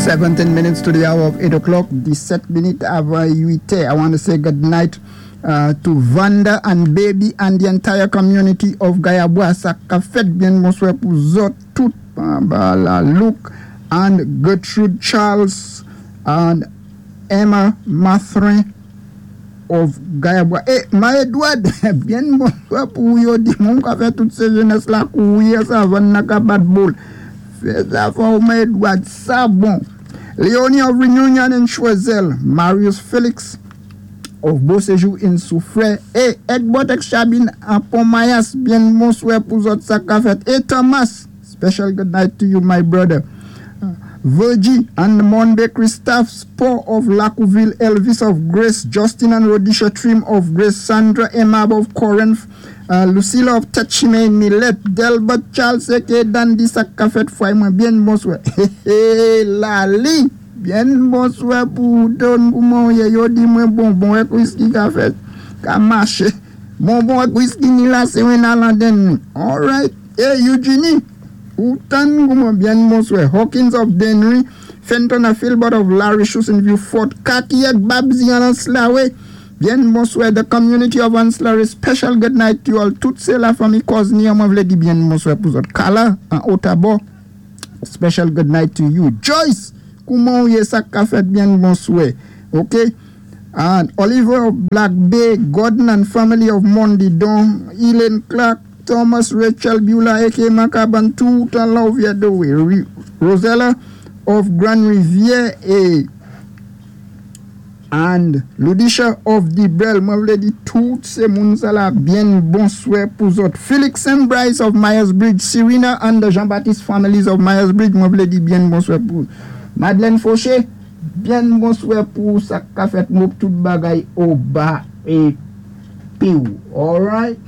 17 minutes to the hour of 8 o'clock, 17 minit avan 8. I want to say good night to Vanda and baby and the entire community of Gayabwa. Sa ka fèt, byen bonswè pou zòt tout. La Luke and Gertrude Charles and Emma Mathrin of Gayabwa. É, Ma Edward, byen bonswè pou yo di moun ka fè tout sé jenès la kouwi savann nan ka bat boul. Fè sa fò, Ma Edward, sa bon. Leonie of Reunion in Choiseul, Marius Felix of Beauséjour in Soufrière, é Egbert Chabine an Pont Mayas, byen bonswè pou zòt sa ka fèt. É Thomas, special good night to you, my brother. Virgie and the Mon Bakery staff, Sport of Lacouville, Elvis of Grace, Justin and Rodisha Trim of Grace, Sandra Emab of Corinth, Lucilla of Tetchime Millet, Delbert Charles aka Dandy sa ka fèt fwa mwen, byen bonswè. Lali, byen bonswè pou don pou mwen ye yo di mwen bonbon ak whisky ka fèt, ka maché. Bonbon ak whisky ni la sé wen alanden. All right. Hey Eugenie, ou tann pou mwen, byen bonswè. Hawkins of Denry, Fenton a Philbert of Larry in View Fort, Kaki ak Babzi an Anslawe. Byen bonswè, the community of Anslawe, special good night to you all. Tout sé la fanmi Cosny, mwen vlé di byen bonswè pou zòt. Kala, an Otabo, special good night to you. Joyce, kouman ou yé, sa ka fèt, byen bonswè. Ok? And Oliver of Black Bay, Gordon and family of Mondidon, Elaine Clark, Thomas Rachel Beulah, aka Makaban, tout an love ya do. Rosella of Grand Rivière et and Ludisha of Dibel, mwen vlé di tout sé moun sa la byen bonswè pou zòt. Felix and Bryce of Myers Bridge, Serena and the Jean-Baptiste families of Myers Bridge, mwen vlé di byen bonswè pou Madeleine Fauché, byen bonswè pou sa ka fèt mou tout bagay au bas et piou. All right.